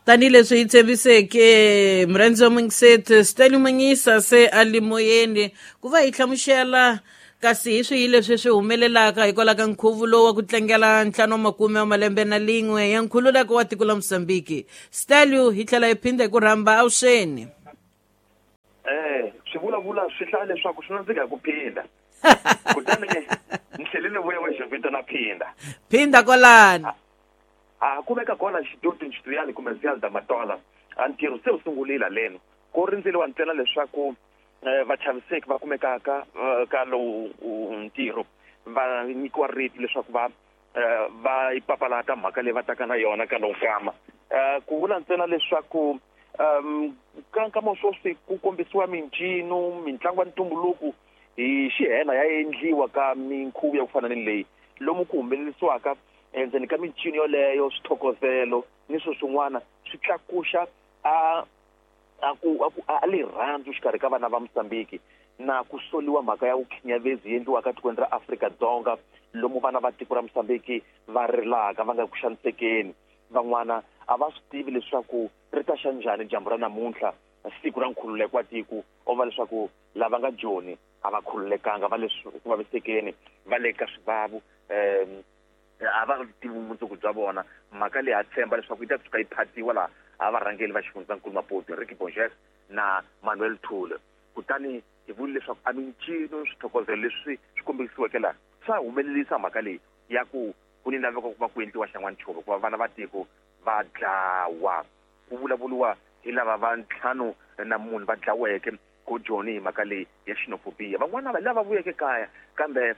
Tanihileswi hi tshembiseke murhandzi wa Mungiseti Stanley Manyisa se a li moyeni ku va hi hlamusela kasi hi swihi leswi swi humelelaka hikwalaho ka nkhuvo lowu wa ku tlangela ntlhanu wa makume wa malembe na lin'we ya nkhululeko wa tiko la Mozambique. Stanley, hi tlhela hi phinda hi ku rhamba avuxeni. Swi vulavula swi hlaya leswaku swi nandzika hi ku phinda. Kutani ni tlhele ni vuya wa Jovita na phinda. Phinda kwalani. A ku veka kona Instituto Industrial e Comercial da Matola. A ntirho se wu sungurile haleno. Ko rindzeriwa ntsena leswaku vachaviseki va kumekaka ka lowu ntirho va nyikiwa rito leswaku va va yi papalata mhaka leyi va taka na yona ka lowu nkama. Ku vula ntsena leswaku ka nkama wa sweswi ku kombisiwa mincino, mintlangu ya ntumbuluko hi xihela ya endliwa ka minkhuvo ya ku fana ni leyi, lomu ku humelerisiwaka endzeni ka mincino yoleyo swithokozelo ni swilo swin'wana swi tlakuxa a a ku a ku a rirhandzu xikarhi ka vana va Mozambique na ku soliwa mhaka ya vukhinyavezi yi endliwaka etikweni ra Afrika-Dzonga lomu vana va tiko ra Mozambique va rilaka va nga ku xanisekeni. Van'wana a va swi tivi leswaku ri ta xa njhani dyambu ra namuntlha, siku ra nkhululeko wa tiko, o va leswaku lava nga Joni a va khululekanga, va le ku vavisekeni, va le ka swivavu, a va tivi vumundzuku bya vona. Mhaka leyi ha tshemba leswaku yi ta tshuka yi phatiwa laha ha varhangeri va xifundzankulu Maputo, Ricky Borges na Manuel Thule. Kutani hi vule leswaku a mincino swithokozelo leswi swi kombisiweke laha swa humelerisa mhaka leyi ya ku ku ni laveko ku va ku endliwa xan'wanchumu hikuva vana va tiko va dlawa. Ku vulavuriwa hi lava va 54 va dlaweke ko Joni hi mhaka leyi ya xenophobia. Van'wana va lava vuyeke kaya kambe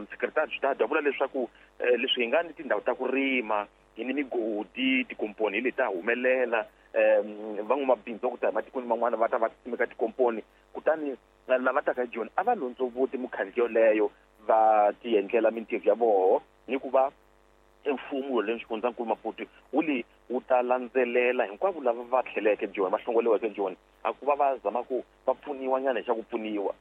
Secretary Jidadu a vula leswaku leswi hi nga ni tindhawu ta ku rima, hi ni migodi, tikomponi hi leti ta humelela, van'wamabindzu va ku ta hi matikweni man'wana va ta va simeka tikomponi, kutani lava taka hi Joni a va londzovoti mukhandlu yoleyo va tiendlela mintirho ya voho ni ku va mfumo le xifundzankulu Maputo wu li wu ta landzelela hinkwavo lava va tlheleke Joni, va hlongoliweke Joni, a ku va va zama ku va pfuniwa nyana hi xa ku pfuniwa.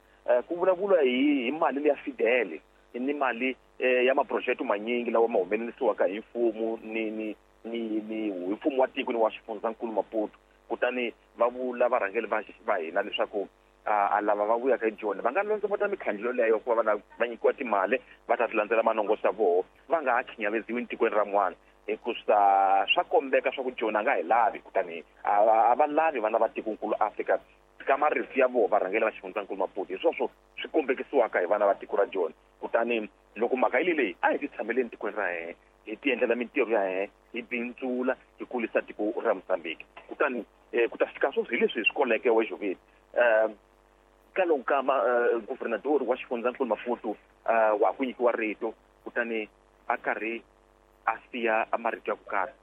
Ku vulavuriwa hi mali leya Fidel ni mali ya maproject manyingi lawa ma humelerisiwaka hi mfumo ni ni ni ni hi mfumo wa tiko ni wa xifundzankulu Maputo. Kutani va vula varhangeri va va hina leswaku a lava va vuyaka eJoni va nga londzovota mikhandlu yoleyo ku va va va nyikiwa timali va ta ti landzela manongosa voho, va nga ha khinyaveziwi etikweni ra n'wana, hikusa swa kombeka swa ku Joni a nga hi lavi, kutani a va lavi vana va tikonkulu Afrika ka marito ya voho varhangeri va xifundzankulu Maputo. Hi swoswo swi kombekisiwaka hi vana va tiko ra Joni. Kutani loko mhaka yi le leyi, a hi ti tshameleni tikweni ra hehe, hi tiendlela mintirho ya hehe, hi bindzula, hi kulisa tiko ra Mozambique. Kutani ku ta fika sweswi hi leswi hi swi koleke we Jovini. Ka lowu nkama guvernador wa xifundzankulu Maputo wa ha ku nyikiwa rito, kutani a karhi a siya marito ya ku karhi.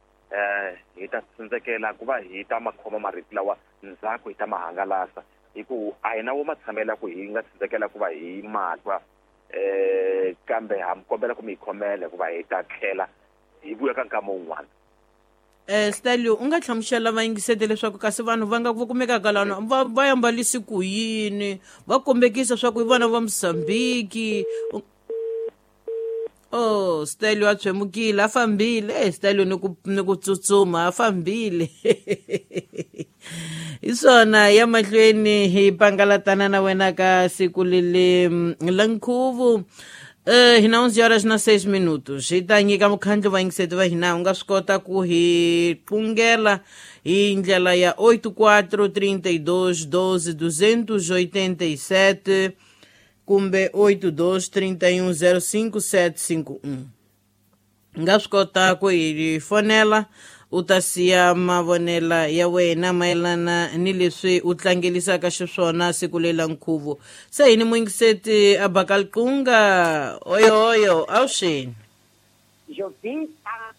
Hi ta tsandzekela ku va hi ta ma khoma marito lawa ndzhaku hi ta ma hangalasa, hi ku a hi na wo matshamela ku hi nga tsandzekela ku va hi ma twa, kambe ha mi kombela ku mi hi khomela hikuva hi ta tlhela hi vuya ka nkama wun'wana. Stalio, u nga hlamusela vayingiseti leswaku kasi vanhu va nga va kumekaka lana va va ambalisi ku yini, va kombekisa swa ku i vana va Mozambique? Oh, Stalio a tshwemukile, a fambile. Stalio ni ku ni ku tsutsuma a fambile. Hi swona ya mahlweni hi pangalatana na wena ka siku leli la nkhuvo. Hi na 11 horas na 6 minutos. Hi ta nyika mukhandlu vayingiseti va hina, u nga swi kota ku hi qungela hi ndlela ya 84 32 12 287 kumbe 82 31 05 751. Nga swi kota ku hi fonela u ta siya mavonela ya wena mayelana ni leswi u tlangelisaka xiswona siku lela nkhuvo. Se hi ni muyingiseti a baka liqunga. Oyo oyo, awuxeni. Jovita.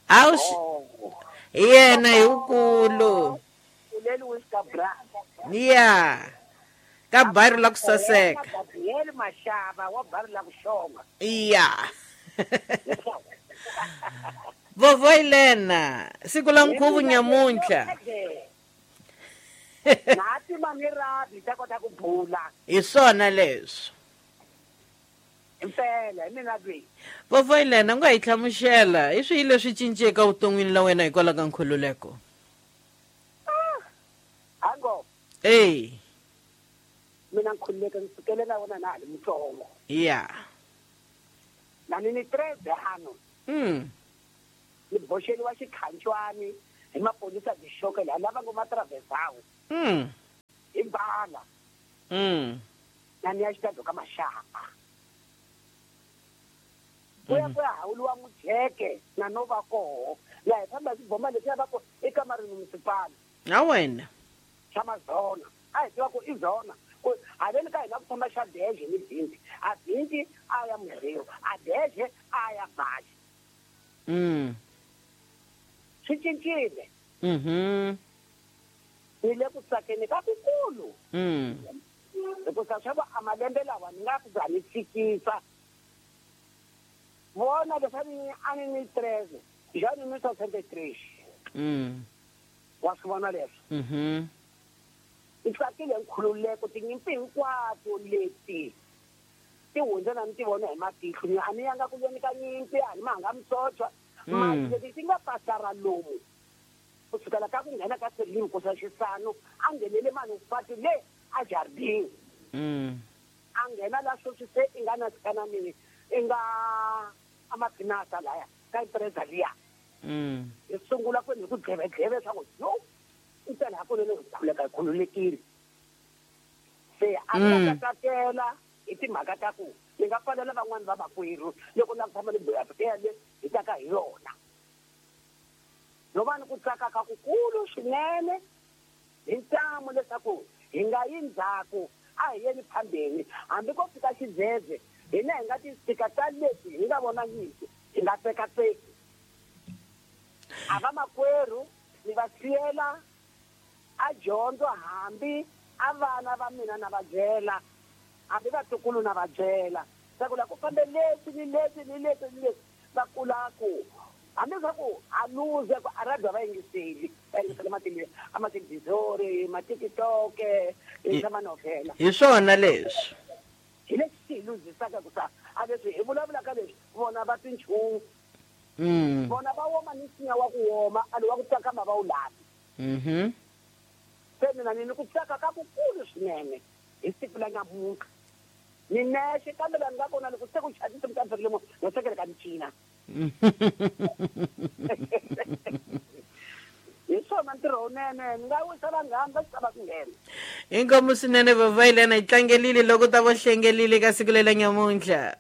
Awuxi. Hi yena hi wukulu. Ya. Ka bari la ku saseka. Gabriel Mashava wa bari la ku xonga. Ya. Vovó Helena, siku la nkhuvo nyamuntlha. Na tima ni rabi ta kota ku bula. Hi swona leswi. Impela hi mina lweyi. Vovó Helena u nga hi hlamusela hi swihi leswi cinceke evuton'wini la wena hikwalaho ka nkhululeko? Hango. Ey. Mina nkhululeko ni sukele na wona na ha ri mutsongo. Ya. Na ni ni 13 ano. Ni boxeliwa xikhancwani hi mapolisa dixoke laha lava ngo ma traversawo. Hi bala. Na ni ya xitado ka maxaka. Kuya kuya hawuliwa mujeke na no va koho. La hi famba hi bomba leswiya va ku i kamareni municipal. Na wena. Xa mazona. A hi tiva ku i zona. Ku haleni ka hina ku tshama xa deje ni 20. A 20 a ya muzeo, a deje a ya baji. Swi cincile. Ni le ku tsakeni ka kukulu. Hikusa swa ku a malembe lawa ni nga ku za ni tshikisa. Vona leswi a ni ni 13, jwale ni 63. Wa swi vona leswo? Ni tsakile nkhululeko tinyimpi hinkwato leti ti hundze na ni ti vona hi matihlo. Ni a ni yanga ku lweni ka nyimpi, a ni mahanga misochwa. Mali leti ti nga pasara lomu ku sukela ka ku nghena ka Selim ku sa xisano a nghenele manufacture le a jardin. A nghena la sweswi se i nga na tshikanamini i nga amaphinasa laya ka impreza liya. Hi sungula kwini hi ku dleve-dleve swa ku yo impela hakunene hi khuleka hi khululekile. Se a ni nga ta tsakela hi timhaka ta ku ni nga pfalela van'wani va makwerhu loko ni lava ku famba ni boya le hi ta ka hi yona. No va ni ku tsaka ka kukulu swinene hi ntamu leswaku hi nga yi ndzhaku a hi yeni phambeni hambi ko fika xidzedze hina hi nga ti fika ta leswi hi nga vonangiki hi nga tsekatseki. A va makwerhu ni va siyela a dyondzo hambi a vana va mina na va byela hambi vatukulu na va byela swa ku la ku fambe leswi ni leswi ni leswi ni leswi va kula ku hambi swa ku a luze ku a radio va yingiseli va yingisela a mathelevhizori ma-TikTok yingisela manovhela. Hi swona leswi hi leswi swi hi luzisaka ku sa a leswi hi vulavulaka leswi vona va twi nchumu. Vona va woma ni nsinya wa ku woma a lowa ku tsakama va wu lavi. Se mina ni ni ku tsaka ka kukulu swinene hi siku la nyamuntlha. Ni nexe kambe la ni nga kona loko se ku chaya tinsimu ta Mferilomo no sekele ka micina. Hi swona ntirho wunene ni nga wisa vanghana va xitava ku nghena. Inkomu swinene Vovó Helena hi tlangelile loko ta vo hlengelile ka siku lela nyamuntlha.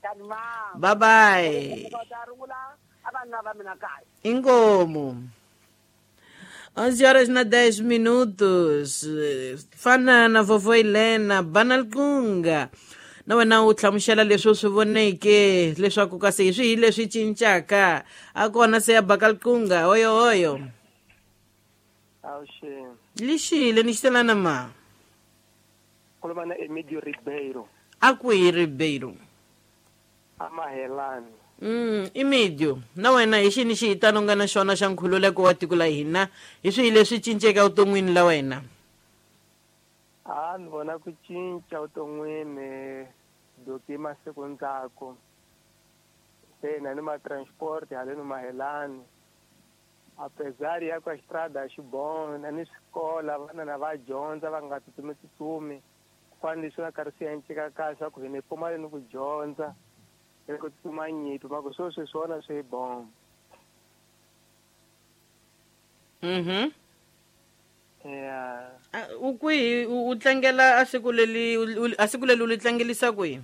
Tani mama. Bye bye. Ta rungula a vanhu va mina kaya. Inkomu. 11 horas na 10 minutos. Fana na Vovó Helena Banalkunga. Na wena u hlamusela leswi u swi voneke leswaku kasi hi swihi leswi cincaka a kona se ya Bakalkunga oyo oyo. Awuxeni. Lixile ni xitelana ma. Khuluma na Emilio Ribeiro. A kwihi Ribeiro? Amahelani. Emilio, na wena hi xini xihitano nga na xona xa nkhululeko wa tiko la hina hi swihi leswi cinceke evuton'wini la wena? A ni vona ku cinca vuton'wini doki masiku ndzhaku. Se na ni ma transport haleni Mahelani. Apesar ya ku estrada xibona ni swikola vana na va dyondza va nga tsutsumi tsutsumi. Ku fana leswi nga karhi swi enceka kahle ku hi ni pfumale ni ku dyondza. Hi ku tsutsuma nyimpi ma ku sweswi swona swi bon. Yeah. U kwihi u tlangela a siku leli a siku leli u li tlangelisa kwihi?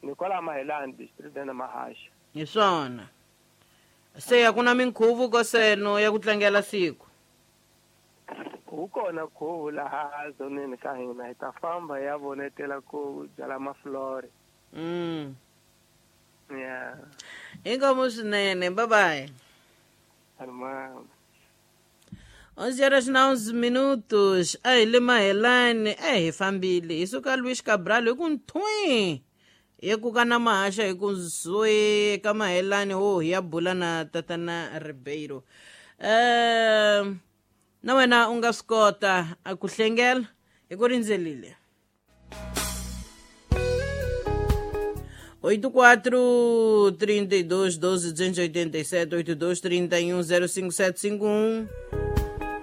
Ni kwala Mahelani district na Mahasha. Hi swona. Se ya ku na minkhuvo koseno ya ku tlangela siku. Wu kona nkhuvo laha zoneni ka hina hi ta famba ya vonetela ku byala maflore. Yeah. Inkomu swinene, bye bye. Alma. 11 horas na 11 minutos. A hi le Mahelani, a hi fambile. Hi suka Luis Cabral hi ku nthwi. Hi ku ka na Mahasha hi ku zwe ka Mahelani ho hi ya bula na tatana Ribeiro. Na wena u nga swi kota a ku hlengela hi ku rindzelile. 84 32 12 287 82 31 05751.